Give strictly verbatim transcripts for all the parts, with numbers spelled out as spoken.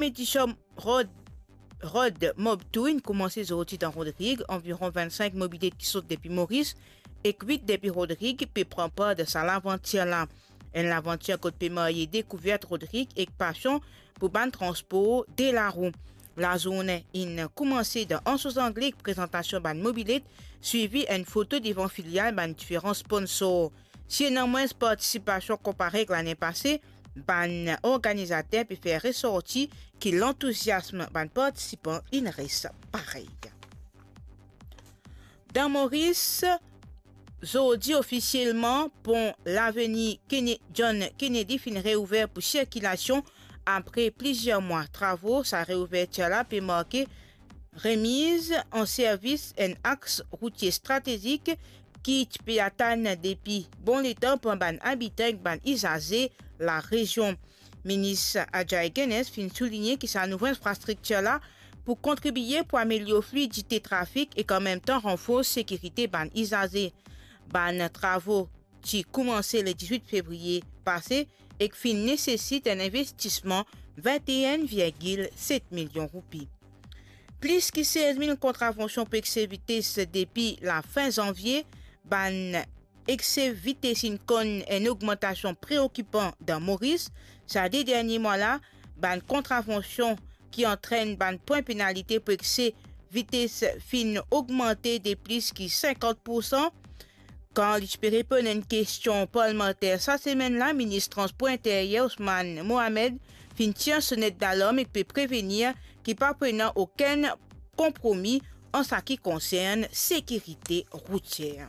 Competition Road, Road Mob Tour inn koumanse zordi dan Rodrig. Anviron vinn-sink mobilet ki sot depi Moris ek wit depi Rodrig pe pran par dan sa lavantir la. Enn lavantir kot pe marye dekouver Rodrig ek pasion pou bann transpor de larou. Lazourne inn koumanse dan Anse aux Anglais ek prezantasion bann mobilet, swivi enn foto devan filial bann diferan sponsor. Si ena mwins partisipasion konpare ek lane pase, bann organizater pe fer resorti ki lantouziasm bann partisipan inn res parey. Dan Moris, zordi ofisielman, pon Laveni Kene-, John Kennedy finn reouver pou sirkilasion apre plizier mwa travo. Sa reouvertir la pe marke remiz an servis enn aks routie stratezik ki ti pe atann depi bon letan par bann abitan ek bann izaze larezion. Minis Ajaï Genes finn souligne ki sa nouvo infrastriktir la pou kontribie pou amelior fluidite trafik ek anmemtan ranfors sekirite bann izaze. Bann travo ti koumanse le diz-wit fevriye pase ek finn nesesit enn investisman vinn-e-enn virgil set milion roupi. Plis ki sez mil kontravansion pou ekse vites depi lafin zanvie. Bann ekse vites inn konn enn ogmantasion preokipan dan Moris. Sa de dernie mwa la, bann kontravansion ki antrenn bann pwin penalite pou ekse vites finn ogmante de plis ki sinkant poursan. Kan li ti pe reponn enn kestion parlimanter sa semenn la, minis Transpor Interyer Ousmane Mohamed finn tir sonet dalarm ek pe prevenir ki pa pou ena okenn konpromi an sa ki konsern sekirite routier.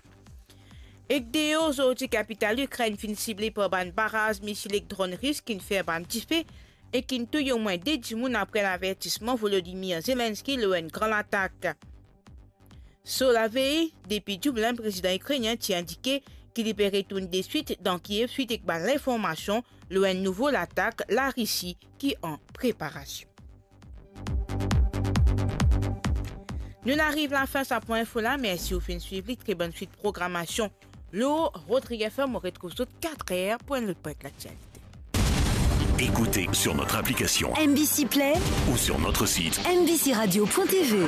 Ek deor zordi, kapital Ikrenn finn sible par bann baraz misil ek dronn ris ki'nn fer bann dife e ki'nn touy omwin de dimoun apre lavertisman Volodymyr Zelensky lor enn gran latak. So lavey, depi Dublin, prezidan ikrenien ti indike ki li pe retourn deswit dan Kiev swit ek bann linformasion lor enn nouvo latak Larisi ki an preparasion. Nou'nn ariv lafin sa pwin info la. Mersi ou finn swiv li. Tre bonn swit programasion lor Rodrig F M. Mo retrouv zot kat er pou enn lot pwint laktialite. Écoutez sur notre application M B C Play ou sur notre site M B C radio point T V.